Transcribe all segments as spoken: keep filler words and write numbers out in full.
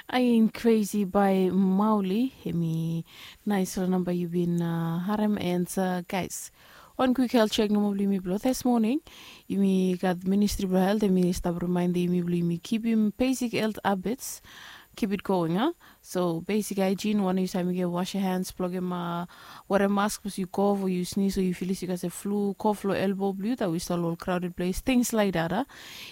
Ain Crazy by Mauli. Hemi nais long namba yu bin uh, harem and uh, guys, one quick health check nomo blong yumi blong this morning. Yumi gat Ministry blong Health, hemi stap remind yumi blong yumi kipim basic health habits. Keep it going, huh? So basic hygiene, wan yu sami get wash your hands, blogem uh, wear a mask, bos yu cough o yu sneeze o yu filis yu gat se flu, cough lo elbow blong yu, that we start all crowded place, things like that, huh?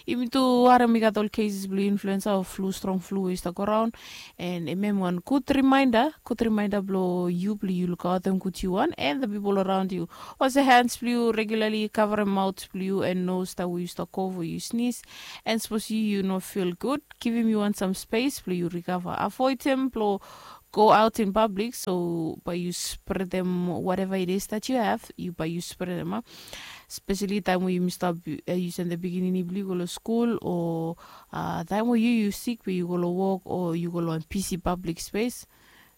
Yumi tu harem i gat ol cases blong influenza o flu, strong flu we i start go around. And hemia wan good reminder, good reminder blong yu blong yu lukaotem good yu wan and the people around you. Wash your hands blong yu regularly, cover maut blong yu and nose that we start cough o yu sneeze. And suppose yu yu no feel good, givim yu wan some space blong yu recover. Avoidem blong go out in public, so bae yu spreadem whatever it is that you have, yu bae yu spreadem, a. Especially taem we yumi stap uh, yusum the pikinini blong yu go long skul o uh, taem we yu yu sik bae yu go long wok o yu go long wan busy public space.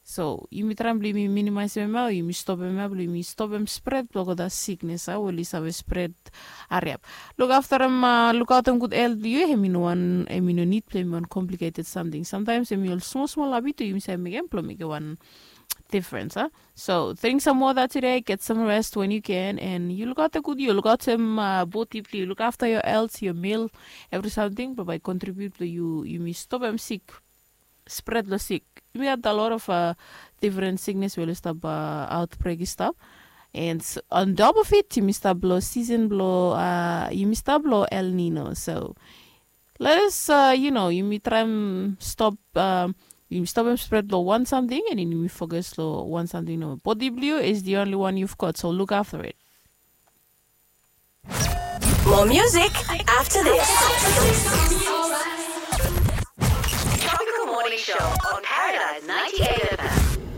So yumi traem blong yumi minimaisim hemia o yumi stopem hemia blong yumi stopem spread blong olgeta siknes, a, we oli save spread hariap. Lukaftarem, uh, lukaotem good health blong yu, hemi no wan, hemi no nid blong hemi wan complicated samting. Sometimes hemi ol smol smol habit we yumi save mekem blong mekem wan difference, a. So drink some water today, get some rest when you can, and yu lukaotem good yu, lukaotem uh, bodi blong yu, look after your health, your meal, every samting blong bae contribute blong yu yumi stopem sik, spread lo sik. Yumi gat a lot of uh, different siknes we oli stap uh, outbreak i stap. And s- on top of it, yumi stap lo season blo uh, yumi stap lo El Nino. So let us, uh, you know, yumi traem stop, uh, yumi stopem spread lo wan samting and then yumi focus lo wan samting nomo. Bodi blong yu is the only one you've got, so look after it. More music after this. Tropical Morning Show on